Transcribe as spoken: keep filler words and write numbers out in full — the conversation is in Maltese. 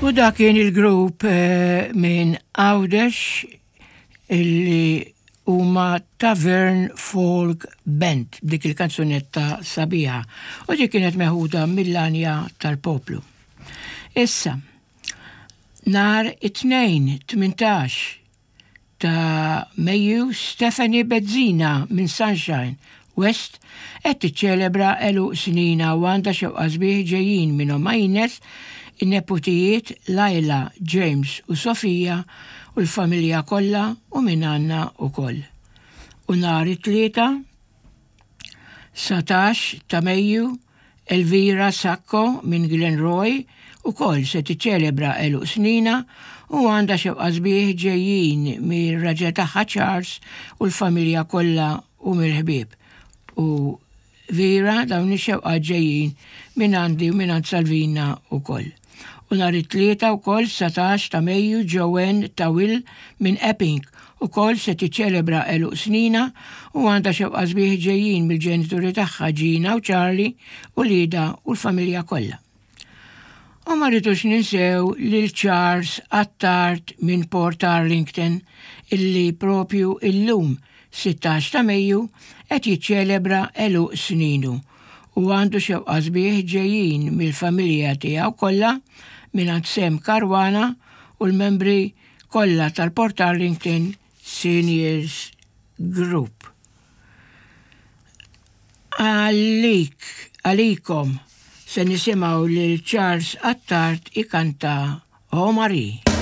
U dak kien il-grupp eh, minn Għawdex illi huma Tavern Folk Band, dik il-kanzunetta sabiħa, u dik kienet meħuda mill-Għanja tal-Poplu. Issa, nhar it-Tnejn tmintax ta' Mejju, Stephanie Bezzina minn Sunshine West qed tiċċelebra għeluq snina u għandha xewqa sbieħ ġejjin minn ommha Ines, in-neputijiet Laila, James u Sofija u l-familja kollha u minn għandna wkoll. U nhar it-Tlieta dsatax ta' Mejju, Elvira Sacco minn Glenroy ukoll se tiċċelebra għeluq snina u għandha xewqa sbieħ ġejjin mir-raġel tagħha Charles u l-familja kollha u mill-ħbieb. U Vera, dawn ix-xewqa ġejjin minn għandi u minn għand Salvina ukoll. U nhar it-Tlieta wkoll dsatax ta' Mejju, Joanne Tawil minn Epping ukoll se tiċċelebra għeluq snina u għandha xewqa sbieħ ġejjin mill-ġenituri tagħha Gina u Charlie u Lida u l-familja kollha. U ma rridux ninsew lil Charles Attard minn Port Arlington illi propju illum sittax ta' Mejju qed jiċċelebra għeluq sninu u għandu xewqa sbieħ ġejjin mill-familja tiegħu kollha, minn Sem Caruana u l-membri kollha tal-Port Arlington Seniors Group. Għalik, għalikom, se nisimgħu lil Charles Attard ikanta O Marie.